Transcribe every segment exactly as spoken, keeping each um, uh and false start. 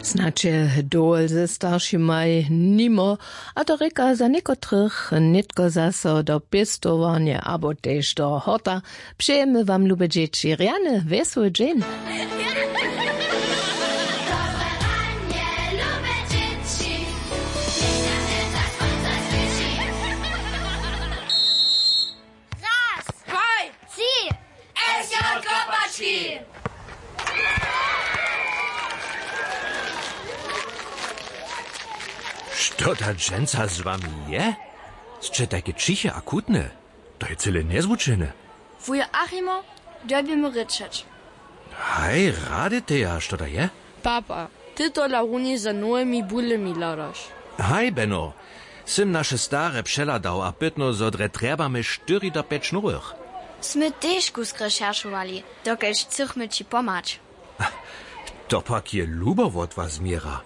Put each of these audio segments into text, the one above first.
Snadź je dowol ze staršimaj nimo, a to rěka za někotrych nětko zaso do pěstowarnje abo tež do horta. Přejemy wam, lube dźěći, rjany wjesły dźeń. Raz, dwaj, tři. S J Kopački. Što ta dźensa z wami je? Sće tajke ćiche a chutne. To je cyle njezwučene. Wujo Achimo, dyrbimy rěčeć. Haj, rady teja, što da je? Papa, ty tola runje za nowymi bulemi hladaš. Haj, Beno, sym naše stare přehladał a pytnył, zo drje trjebamy štyri do pjeć nowych. Smy tež kusk rešeršowali, dokelž chcychmy ći pomhać. To pak je lubo wot was, Měra.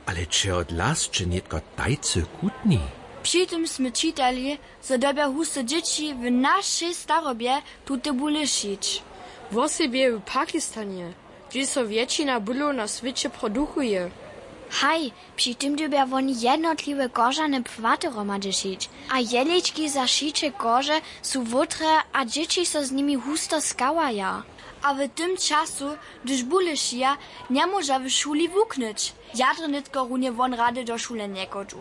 Ale čehodla sće nětko tajcy chutni? Při tym smy čitali, zo dyrbja husto dźěći w našej starobje tute bule šić. Wosebje w Pakistanje, hdźež so wjetšina bulow na swěće produkuje. Haj, při tym dyrbja woni jednotliwe kožane płaty hromadźe šić. A jehlički za šiće kože su wótre a dźěći so z nimi husto skawaja. A w tym času, hdyž bule šija, njemóža w šuli wuknyć. Ja drje nětko runje won rady do šule njechodźu.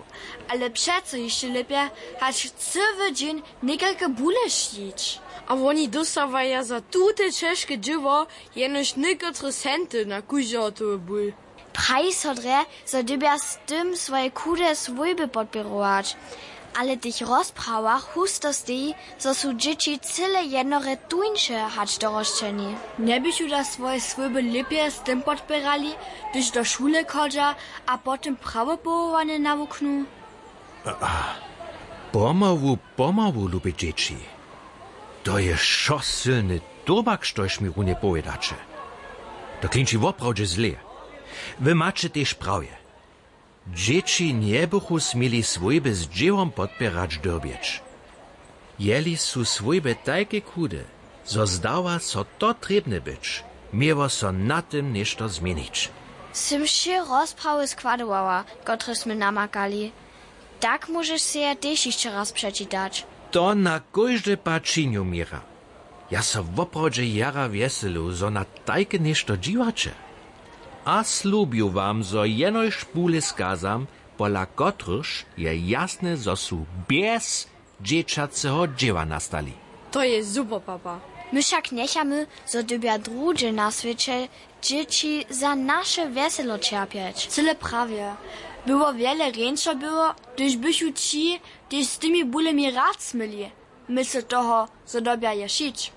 Ale přeco hišće lěpje, hač cyły dźeń někelke bule šić. A woni dóstawaja za tute ćežke dźěło jenož někotre centy na kóždeho towy bul. Praji so drje, zo dyrbja z tym swoje chude swójby podpěrować. Ale w tych rozprawach husto steji, zo su dźěći cyle jednorje tuńše hač dorosćeni. Njeběchu da swoje swójby lěpje z tym podpěrali, hdyž do šule chodźa a potom prawopowołanje nawuknu? Pomału, pomału, lube dźěći. To je wšo sylny tobak, štož mi runje powědaće. To klinči woprawdźe zle. Wy maće tež prawje. Dźěći njebychu směli swójby z dźěłom podpěrać dyrbjeć. Jeli su swójby tajke chude, zo zdawa so to trěbne być, měło so na tym něšto změnić. Sym wšě rozprawy składowała, kotrež smy namakali. Tak móžeš sej je tež hišće raz přečitać. To na kóždy pad činju, Měra. Ja so woprawdźe jara wjeselu, zo na tajke něšto dźiwaće. A slubju wam, zo jenož bule skazam, pola kotrychž je jasne, zo su bjez dźěćaceho dźěła nastali. To je super, papa. My wšak njechamy, zo dyrbja druhdźe na swěće dźěći za naše wjeselo ćerpjeć. Cyle prawje. By wot wjele rjeńšo było, hdyž bychu ći tež z tymi bulemi rad smyli, mysle toho, zo dyrbja je šić.